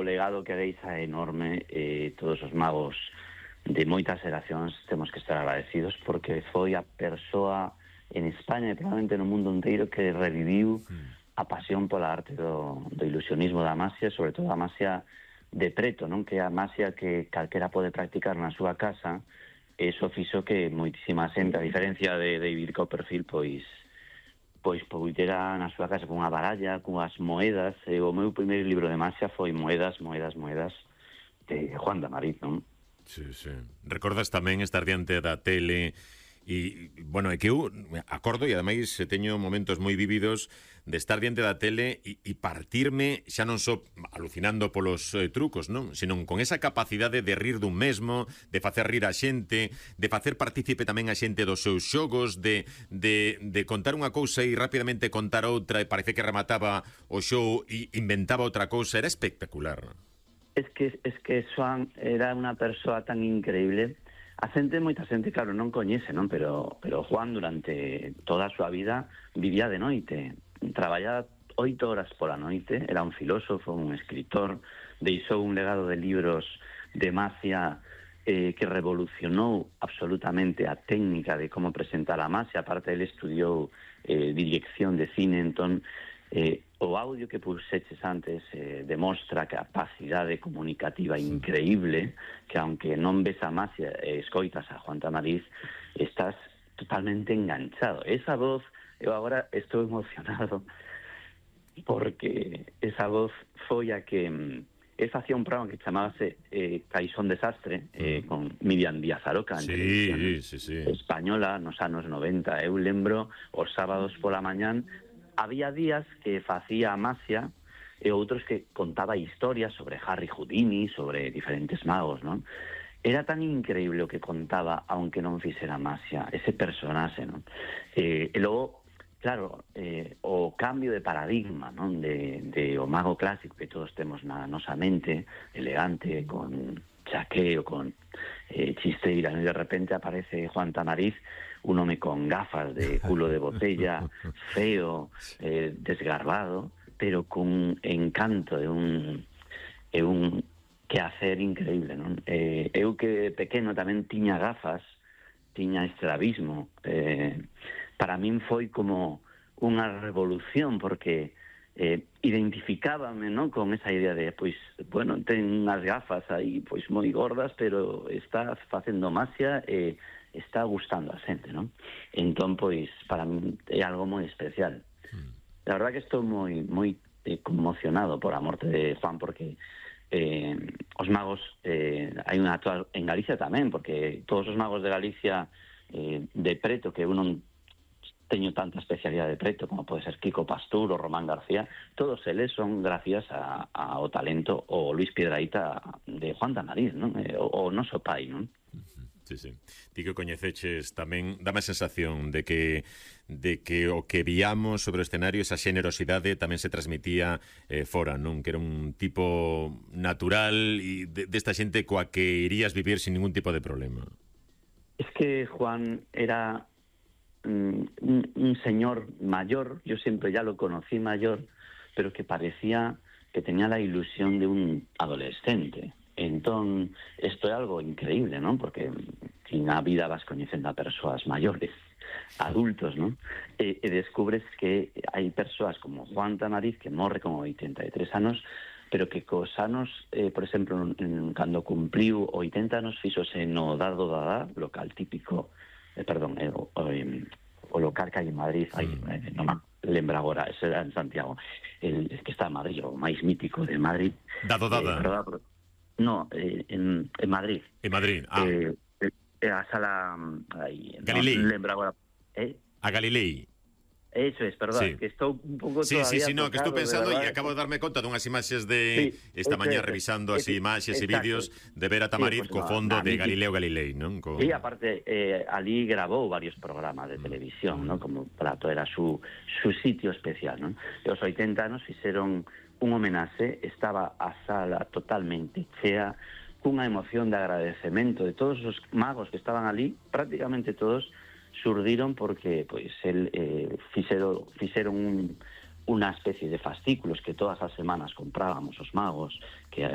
legado que deixa é enorme. Todos os magos de moitas xeracións temos que estar agradecidos porque foi a persoa en España e probablemente no mundo inteiro que reviviu a pasión pola arte do ilusionismo da masia, sobre todo a masia de preto, non? Que é a masia que calquera pode practicar na súa casa. Eso fixo que moitísima xente, a diferencia de David Copperfield, pois poidera na súa casa cunha baralla, cunhas moedas. O meu primeiro libro de masia foi Moedas de Juan de Amariz, non? Sí. Recordas tamén estar diante da tele e, bueno, é que eu acordo e ademais teño momentos moi vívidos de estar diante da tele e partirme xa non só alucinando polos trucos, non? Senón con esa capacidade de rir dun mesmo, de facer rir a xente, de facer partícipe tamén a xente dos seus xogos, de contar unha cousa e rapidamente contar outra e parece que remataba o show e inventaba outra cousa. Era espectacular. Es que Xoan era unha persoa tan increíble. Moita xente, claro, non coñece, non? Pero Juan durante toda a súa vida vivía de noite. Traballaba 8 horas pola noite, era un filósofo, un escritor, deixou un legado de libros de magia que revolucionou absolutamente a técnica de como presentar a magia. Aparte, ele estudiou dirección de cine, entón o audio que puxeches antes demostra a capacidade comunicativa increíble, que aunque non ves a masia e escoitas a Juan Tamariz, estás totalmente enganchado. Esa voz, eu agora estou emocionado porque esa voz foi a que él facía un programa que chamábase Caixón Desastre, con Miriam Díaz Aroca, en televisión española nos anos 90. Eu lembro os sábados pola mañán había días que facía masia e outros que contaba historias sobre Harry Houdini, sobre diferentes magos, non? Era tan increíble o que contaba, aunque non fixera masia, ese personaxe, non? E logo, claro, o cambio de paradigma, non? De o mago clásico que todos temos na nosa mente, elegante, con chaqueo, con chisteira, e de repente aparece Juan Tamariz, un home con gafas de culo de botella, feo, desgarbado, pero con encanto e un quehacer increíble, non? Eu que pequeno tamén tiña gafas, tiña estrabismo. Para min foi como unha revolución, porque identificábame, non, con esa idea de, pois, bueno, ten unhas gafas aí, pois, moi gordas, pero está facendo masia e está gustando a xente, non? Entón, pois, para min é algo moi especial. La verdad que estou moi conmocionado por a morte de Juan, porque os magos hai unha actual en Galicia tamén, porque todos os magos de Galicia de preto, que eu non teño tanta especialidade de preto como pode ser Kiko Pastur ou Román García, todos eles son gracias ao talento o Luis Piedrahita de Juan Tamariz, non? O noso pai, non? Sí. Ti que coñeceches tamén, dame a sensación de que o que víamos sobre o escenario, esa xenerosidade tamén se transmitía fora, non? Que era un tipo natural e desta xente coa que irías vivir sin ningún tipo de problema. Es que Juan era un señor mayor, yo siempre ya lo conocí mayor, pero que parecía que tenía la ilusión de un adolescente. Entón, isto é algo increíble, non? Porque na vida vas coñecendo a persoas maiores, adultos, non? E descubres que hai persoas como Juan Tamariz que morre con 83 anos, pero que cos anos, por exemplo, cando cumpliu 80 anos, fixose no Dado Dadá, local típico, o local que hai en Madrid, non lembra agora, ese era en Santiago, el que está en Madrid, o máis mítico de Madrid. Dado Dadá. No, en Madrid. En Madrid, a sala... Galilei. Non lembro agora. A Galilei. Eso es, perdón, que estou un pouco todavía... No, que estou pensando e acabo de darme conta dunhas imaxes de esta mañá revisando as imaxes e vídeos de ver a Tamariz co fondo de Galileo Galilei, non? E aparte, ali grabou varios programas de televisión, non? Como Prato era su sitio especial, non? E os 80 anos fixeron un homenaxe, estaba a sala totalmente chea, cunha emoción de agradecemento de todos os magos que estaban ali, prácticamente todos surdiron porque pois el fixeron unha especie de fascículos que todas as semanas comprábamos os magos, que